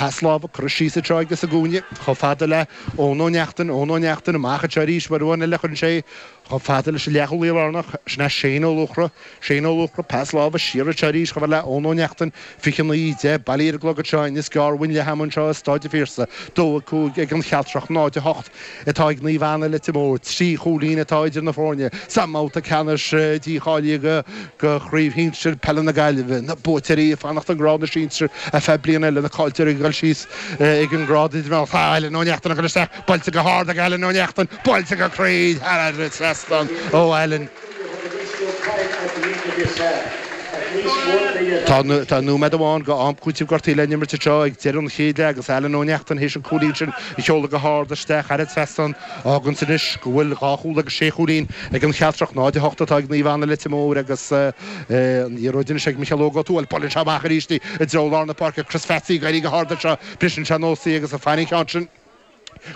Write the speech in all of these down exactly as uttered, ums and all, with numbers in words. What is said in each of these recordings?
Pas láimhe curtha síos anseo aige sa gcúinne chomh fada le Eoin Ó Neachtain, Eoin Ó Neachtain amach anseo arís uair amháin eile chuireann sé chomh fada leis an leathchúlaí lárnach, sin é Shane Ó Luachra, Shane Ó Luachra, pas láimhe siar anseo arís chomh fada le Eoin Ó Neachtain, fiche naoi, deich, bailithe ar an gclog anseo in Inis Gearr-Bhain leath ama anseo i Stáid an Phiarsaigh, dó a cúig ag an Chealtrach, náid a hocht atá ag Naomh Anna Leitir Móir, trí chúilín atá idir na foirne sa mbabhta ceannais dícháilithe go Chraobh Shinsir Peile na Gaillimhe, na buaiteoirí ag fanacht i ngrád na sinsear ar feadh bliana eile, na caillteoirí ag dul síos ag an ngrád idirmheánach. Tá Alan Ó Neachtain ag dul isteach, buailte go hard ag Alan Ó Neachtain, buailte go cruinn thar an trasnán ó Alan. Tá tá nóiméad amháin go am cúitimh gortaithe le n-imirt anseo ag deireadh an chéad leath agus Alan Ó Neachtain théis an cúilín sin a sheoladh go hard isteach thar an trasnán. Fágann sin anois go bhfuil dhá chúl agus sé chúilín ag an Chealtrach, náid a hocht atá ag Naomh Anna Leitir Móir agus an liathróid anois ag Micheál Óg Ó Tuathail. Buaileann sé amach arís í i dtreo lár na páirce. Chris Phatsy ag éirí go hard anseo. Briseann sé anuas í agus ag faire an cheann sin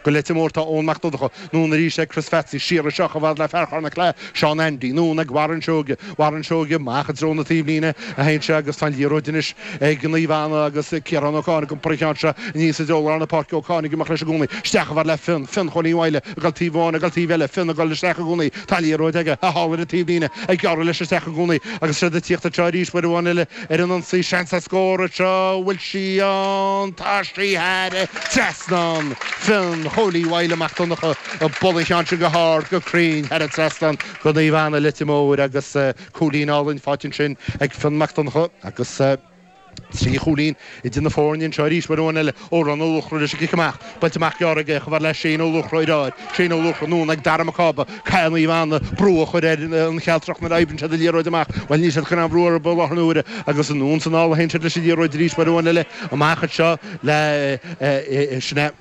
go Leitir Móir tá Eoin Mac Donncha. Anonn arís ag Chris Phatsy. Siar anseo chomh fada le fear Chorn na Claí, Seán Andy. Anonn ag Warren Seoige. Warren Seoige amach i dtreo na taobhlíne a théann sé agus tá an liathróid anois ag Naomh Anna agus Ciarán Ó Cadhain ag iompar an cheann seo aníos i dtreo lár na páirce. Ó Cadhain ag imeacht leis i gcónaí. Isteach chomh fada le Fionn. Fionn Chóilín Mhaidhle ag dul taobh amháin, ag dul taobh eile. Fionn ag dul isteach i gcónaí. Tá an liathróid aige. Thall ar an taobhlíne. Ag gearradh leis isteach i gcónaí agus siad ag tíocht anseo arís uair amháin eile ar an ionsaí. Seans ar scór anseo. Bhfuil sí ann? Tá sí thar an trasnán. Fionn Chóilí Mhaidhle Mac Donncha ag bualadh an cheann sin go hard, go cruinn thar an trasnán go Naomh Anna Leitir Móir agus cúilín álainn faighte ansin ag Fionn Mac Donncha agus trí chúilín idir na foirne anseo arís uair amháin eile. Odhrán Ó Luachra leis an gcic amach. Buailte amach gearr aige chomh fada le Shane Ó Luachra ar ár. Shane Ó Luachra anonn ag Dara Mac Cába. Caithfidh Naomh Anna brú a chur ar an Chealtrach nuair a oibríonn siad an liathróid amach. Bhuel níl siad chun aon bhrú orthu i láthair na huaire agus anonn is anall a théann siad leis an liathróid arís uair amháin eile amach anseo le sin é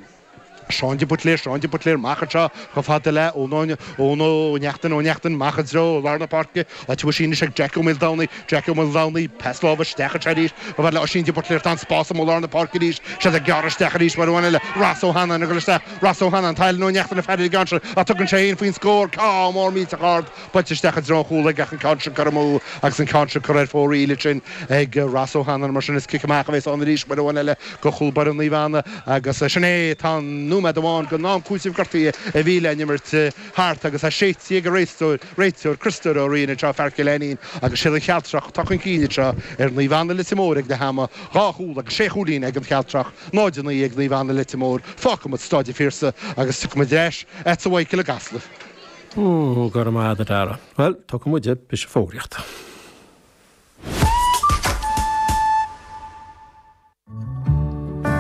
Seán de Buitléir, Seán de Buitléir, amach anseo chomh fada le Eoin Ó Neachtain, Ó Neachtain, amach i dtreo lár na páirce, áit a bhfuil sí anois ag Jack Ó Maoldomhnaigh, Jack Ó Maoldomhnaigh, pas láimhe isteach anseo arís, chomh fada le Oisín de Buitléir, tá an spás amuigh i lár na páirce arís, siad ag gearradh isteach arís uair amháin eile, Ross Ó hAnnáin ag dul isteach, Ross Ó hAnnáin, tá Alan Ó Neachtain ag faire ar an gceann sin ach tugann sé féin faoin scór, ceann mór millteach ard, buailte isteach i dtreo an chúil aige ach an ceann sin curtha amú agus an ceann sin curtha ar fóraoil ansin ag Ross Ó hAnnáin, mar sin is cic amach a bheas ann arís uair amháin eile do chúl báire Naomh Anna. Agus sin é, tá nóiméad amháin den am cúitimh gortaithe a bhí le n-imirt thart agus é séidte ag an réiteoir, Criostóir Ó Riain anseo, fear Chill Ainnín, agus siad an Chealtrach atá chun cinn anseo ar Naomh Anna Leitir Móir ag leath ama, dhá chúl agus sé chúilín ag an Chealtrach, náid a naoi ag Naomh Anna Leitir Móir. Fágfaimid Stáid an Phiarsaigh agus tiocfaimid ar ais agatsa a Mhichael i gCasla. Ó, go raibh maith agat a Dhara. Bhuel, tiocfaidh muid, briseadh fógraíochta.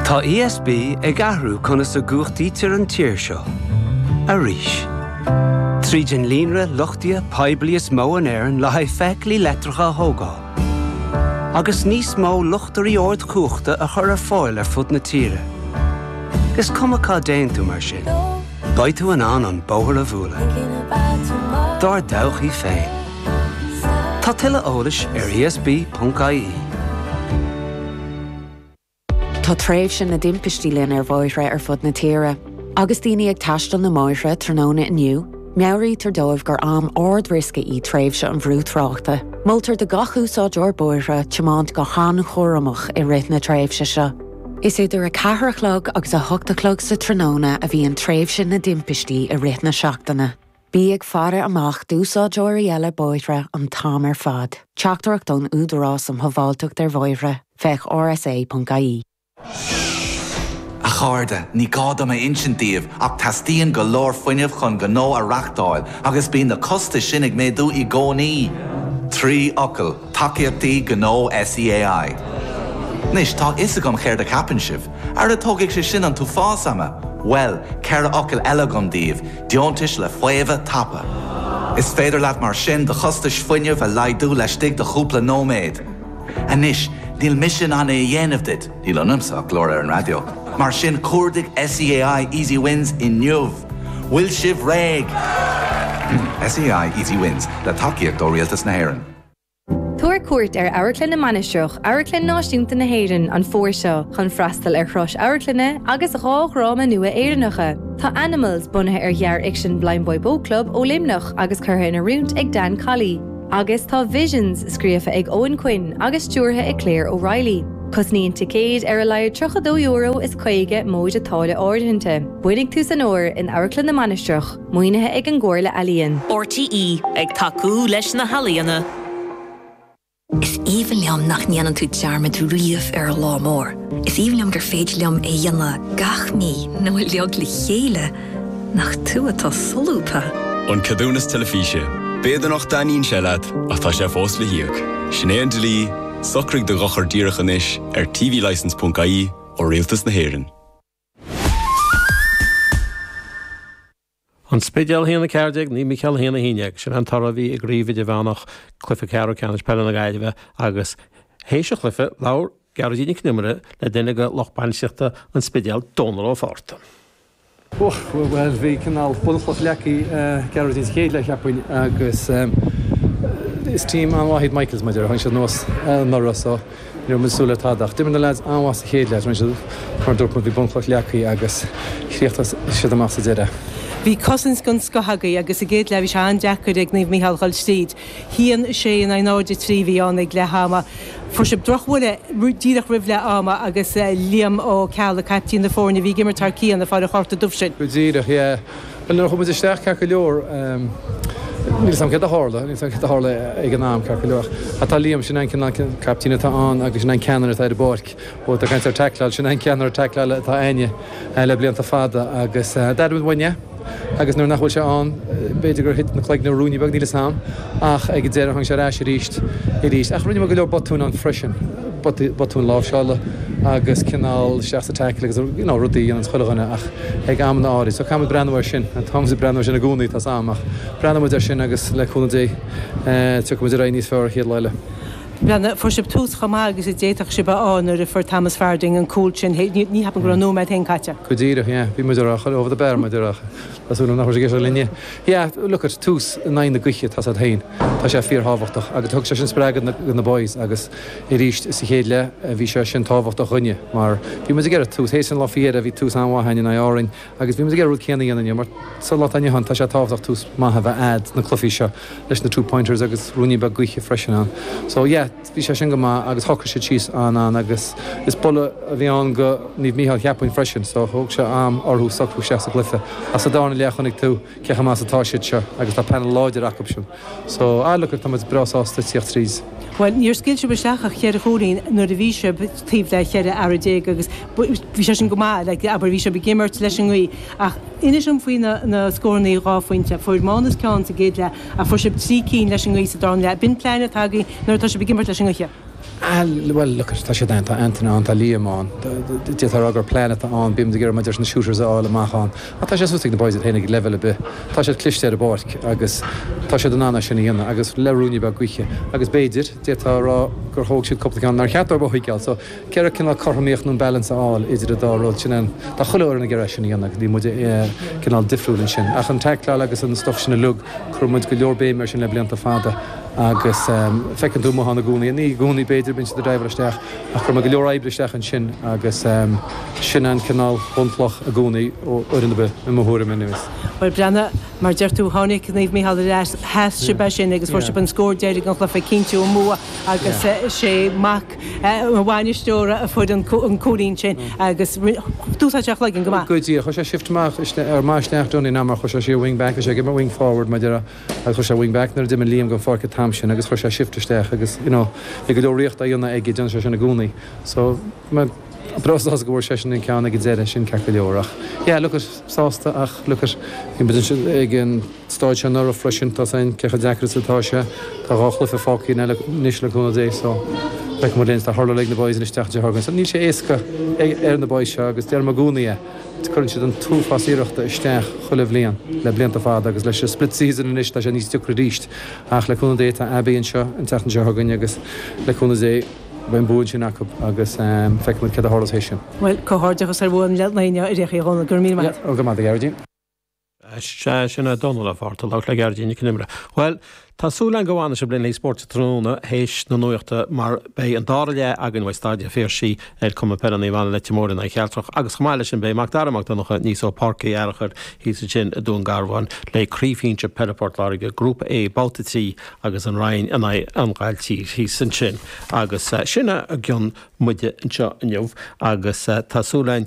Tá E S B ag athrú conas a gcumhachtaítear an tír seo. Arís. Tríd an líonra luchtaithe poiblí is mó in Éirinn le haghaidh feithiclí leictreacha a thógáil. Agus níos mó luchtairí ardchumhachta a chur ar fáil ar fud na tíre. Is cuma cá dtéann tú mar sin. Beidh tú in ann an bóthar a bhualadh. Dár dtodhchaí féin. Tá tuilleadh eolais ar E S B ponc I E. Tá tréimhse na dtimpistí linn ar bhóithre ar fud na tíre. Agus daoine ag taisteal na mbóithre tráthnóna inniu, meabhraítear dóibh gur am ard-riosca í tréimhse an bhrú tráchta. Moltar do gach úsáideoir bóithre tiomáint go han-chúramach i rith na tréimhse seo. Is idir a ceathair a chlog agus a hocht a chlog sa tráthnóna a bhíonn tréimhse na dtimpistí i rith na seachtaine. Bí ag faire amach d'úsáideoirí eile bóithre an t-am ar fad. Teachtaireacht ón Údarás um Shábháilteacht ar Bhóithre, féach R S A ponc I E. A chairde, ní gá dom a insint daoibh ach teastaíonn go leor fuinnimh chun gnó a reáchtáil agus bíonn na costais sin ag méadú i gcónaí. Trí fhocal, tacaíochtaí gnó S E A I. Anois tá a fhios agam céard a cheapann sibh, Ara tógfaidh sé sin an t-uafás ama, Well, ceithre fhocal eile agam daoibh, deontais le faomhadh tapa. Is féidir leat mar sin do chostais fuinnimh a laghdú laistigh de chúpla nóiméad. Anois, níl mise in ann é a dhéanamh duit, níl ionamsa ach glór ar an raidió. Mar sin cuardaigh S E A I Easy Wins inniu. Bhfuil sibh réidh! S E A I Easy Wins le tacaíocht ó Rialtas na hÉireann. Tabhair cuairt ar Amharclann na Mainistreach, Amharclann Náisiúnta na hÉireann an fómhar seo chun freastal ar thuras amharclainne agus dhá dhráma nua Éireannacha. Tá Animals bunaithe ar ghearrfhicsean Blindboy Boatclub ó Luimneach agus curtha in oiriúint ag Dan Colley. Agus tá Visions scríofa ag Owen Quinn agus stiúrtha ag Claire O'Reilly. Cosnaíonn ticéid ar a laghad tríocha dó euro is caoga móide táille áirithinte. Bainigh tús an fhómhair in Amharclann na Mainistreach, maoinithe ag an gComhairle Ealaíon. RTÉ ag tacú leis na healaíona. Is aoibhinn liom nach ndéanann tú dearmad riamh ar an lá mór. Is aoibhinn liom gur féidir liom é dhéanamh gach mí nó uilig le chéile nach tú atá solúbtha. An ceadúnas teilifíse. B'fhéidir nach dtaitníonn sé leat ach tá sé fós le híoc. Sin é an dlí, socraigh do dhochar díreach anois ar tvlicence.ie ó Rialtas na hÉireann. An Spidéal a haon a ceathair déag, Naomh Mícheál a haon a haon déag, sin an toradh a bhí i gcraobh idirmheánach cluiche ceathrú ceannais peile na Gaillimhe agus théis an chluiche labhair Gearóidín Nic Con Iomaire le duine de lucht bainistíochta an Spidéil, Dónal Ó Fátharta. Bhuel, bhí cineál bunchloch leagtha Gearóidín sa chéad leath, cheapfainn, agus is team an-mhaith iad Michaels, mar a déarfá, tháinig siad anuas anuraidh so ní raibh muid ag súil le tada ach d'imir na lads an-mhaith sa chéad leath, rinne siad, mar a dúirt muid, bhí bunchloch leagtha agus chríochnaigh siad amach sa deireadh. Bhí cosaint den scoth agaibh agus sa gcéad leath bhí sé an-deacair ag Naomh Mícheál dhul tríd. Haon a sé in aghaidh náid a trí a bhí ann ag leath ama. Fuair sibh drochbhuille díreach roimh leath ama agus Liam Ó Ceallaigh, caiptín na foirne, a bhí ag imirt thar cionn, ag fáil an chárta dubh sin. Go díreach, yeah. Bhuel, nuair a chuaigh muid isteach ceart go leor, níl 'fhios a'm céard a tharla, níl 'fhios a'm céard a tharla ag an am ceart go leor. Ach tá Liam, sin an cineál caiptín atá ann agus sin an ceannaire atá ar an bpáirc. Ó, tá caint ar tackleáil, sin an ceannaire tackleála atá a'inne le blianta fada agus d'airigh muid uainn é. Agus nuair nach bhfuil sé ann, b'fhéidir gur thit na cloigne ruainne beag, níl 'fhios a'm, ach ag an deireadh tháinig sé ar ais arís, arís. Ach rinne muid go leor botúin ann freisin, botúin láimhseála agus cineál isteach sa tackle agus you know rudaí a dhéananns chuile dhuine ach ag amanna áirid. So caithfidh muid breathnú air sin, tá muid ag breathnú air sin i gcónaí, tá's a'm, ach breathnóidh muid air sin agus le cúnamh Dé tiocfaidh muid ar aghaidh níos fearr an chéad lá eile. Bhuel, fuair sibh tús chomh maith agus a d'fhéadfadh sibh a fháil nuair a fuair Thomas Farding an cúl sin. Ní cheapaim go raibh nóiméad féin caite. Go díreach, yeah. Bhí muid ag rá over the bar, muid ag rá. Tá súil agam nach raibh sé ag éisteacht linne. Yeah, look at, tús in aghaidh na gaoithe, tá's a'd féin. Tá sé fíorthábhachtach agus thug sé sin spreagadh do na boys agus arís sa chéad leath bhí sé sin tábhachtach dhúinne mar bhí muid ag iarraidh tús, théis an lá faoi dheireadh bhí tús an-mhaith againn in aghaidh Árainn agus bhí muid ag iarraidh rud céanna a dhéanamh inniu mar sa lá atá inniu ann tá sé tábhachtach tús maith a bheith a'd sna cluichí seo leis na two pointers agus ruainnín beag gaoithe freisin ann. So yeah, bhí sé sin go maith agus shocraigh siad síos an-an agus is buille a bhí ann go Naomh Mícheál cheapfainn freisin so thóg sé am orthu socrú isteach sa gcluiche ach sa darna leath chonaic tú cé chomh maith is atá siad seo agus tá panel láidir acu sin. So ah look tá muid breá sásta tíocht tríd. Bhuel, níor scaoil sibh isteach ach cheithre chúilín nuair a bhí sibh taobh le cheithre fhear déag agus bhí sé sin go maith, like, abair, bhí sibh ag imirt leis an ngaoth. Ach inis dom faoi na, na scórannaí dhá phointe. Fuair Mánas ceann sa gcéad leath ach fuair sibh trí cinn leis an ngaoth sa darna leath. B'in plean atá agaibh nuair atá sibh ag imirt leis an ngaoth. Ah, bhuel, look, tá siad ann, tá Anthony ann, tá Liam ann, d'fhéadfá a rá gur plean atá ann, bímid ag iarraidh maidir leis na shooters a fháil amach ann. Ach tá sé suas ag na boys iad féin ag leibhéal ar bith. Tá siad cliste ar an bpáirc agus tá siad in ann é sin a dhéanamh agus le ruainne beag gaoithe. Agus b'fhéidir, d'fhéadfá a rá gur thóg siad cúpla ceann nár cheart dóibh a thógáil. So, ceithre cineál cothromaíocht nó an balance a fháil idir an dá rud sin an, tá chuile fhoireann ag iarraidh é sin a dhéanamh agus níl muid cineál difriúil ansin. Ach an tackleáil agus an stuff sin uilig, cuireann muid go leor béime air sin le blianta fada. Agus feiceann tú amuigh ann i gcónaí, ní i gcónaí b'fhéidir, bíonn siad ag driveáil isteach, ach cuireann muid go leor oibre isteach ansin agus sin an cineál bunchloch i gcónaí ó fhoireann ar bith, i mo thuairim anyways. Bhuel, Breandán, mar deir tú, tháinig Naomh Mícheál ar ais, sheas sibh é sin agus fuair sibh an scór deiridh an chluiche, cinntiú an bua agus sé mac an bhainisteora a fuair an cúilín sin agus d'úsáid sé a chloigeann go maith. Go díreach, chuir sé shift amach, ar maith isteach dúinn in am mar chuir sé siar wing back, bhí sé ag imirt wing forward mar a déarfá. Agus chuir sé wing back nuair a d'imigh Liam den pháirc an t-am sin agus chuir sé shift isteach agus you know bhí go leor ríocht á dhéanamh aige, déanann sé sin i gcónaí. So mé breá sásta go bhfuair seisean an ceann ag an deireadh, sin ceart go leor ach yeah look at, sásta ach look at, bhí muid ansin ag an stáid seo anuraidh freisin, tá 's againn cé chomh deacair is atá sé, tá dhá chluiche fágtha againn anois le cúnamh Dé so feicfidh muid linn, tá hurláil ag na boys anois an tseachtain seo chugainn so níl sé éasca ar na boys seo agus deirim i gcónaí é. Cuireann siad an t-uafás iarrachta isteach chuile bhliain le blianta fada agus leis an split season anois tá sé níos deacra arís ach le cúnamh Dé tá Abbey anseo an tseachtain seo chugainn agus le cúnamh Dé beidh an bua ansin acu agus feicfidh muid céard a tharlós théis sin. Bhuel, comhghairdeachas ar bhua an lae inniu a Dhónaill, go raibh míle maith agat. Yeah, go raibh maith agat, a Ghearóidín. Sea, sin é Dónal Ó Fátharta ag labhairt le Gearóidín Nic Con Iomaire. Bhuel, tá súil againn go bhfanfaidh sibh linn le Spórt sa Tráthnóna théis na nuachta mar beidh an dara leath againn uaidh Staid an Phiarsaigh ar Cumann Peile Naomh Anna Leitir Móir in aghaidh Chealtrach agus chomh maith leis sin beidh Mac Dara Mac Donncha aníos ó Páirc Uí Fhearchair thíos ansin i dTuaim Garbháin le Craobh Shinsir Peile Phort Láirge, Grúpa A, Babhta trí agus an Rinn in aghaidh an Ghailltír thíos ansin agus sin a gcionn muide anseo inniu agus tá súil againn